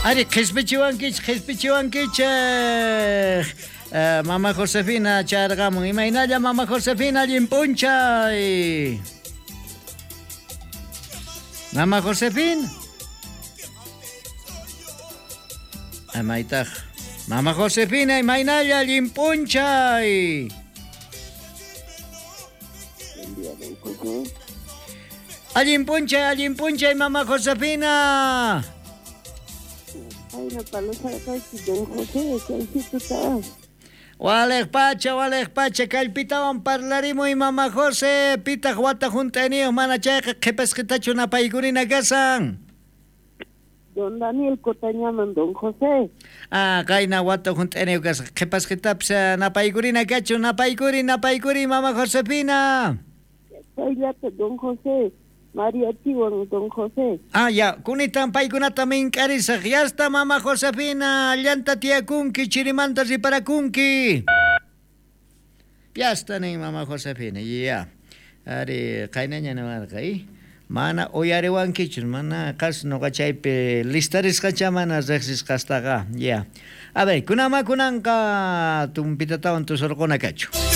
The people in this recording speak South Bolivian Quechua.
Ari, qhispichiwankichej, qhispichiwankichej. Eh, Mama Josefina charqamun. Imaynalla Mama Josefina, allin p'unchay. Mama Josefina. Amaytaj. Mama Josefina, imaynalla allin p'unchay. Allin p'unchay, allin p'unchay, Mama Josefina. Walej pacha, walej pacha, kallpitawan parlarimuy, Mama Jose, pitaq wata junt'ayniyuq mana chayqa qhipasqitachu napaykurina kasan. Don Daniel Cotañaman, don José. Ah, qayna wata junt'ayniyuq kasqa, qhipasqitapis napaykurina kachu, napaykuri, napaykuri, Mama Josefina. Chayllata, don José, Mariachiwan, don José. Ah, ya, kunitan paykunata mink'arisaq. Yasta, Mama Josefina, llanta tiyakunki, chirimanta riparakunki. Yasta nin Mama Josefina, ya. Ari, qaynaña niwarqa, y mana uyariwankichu, mana qas noqa chaypi listarisqacha mana riqsisqastaqa, ya. A ver, kunama kunanqa tumpitatawan tusurquna kachu.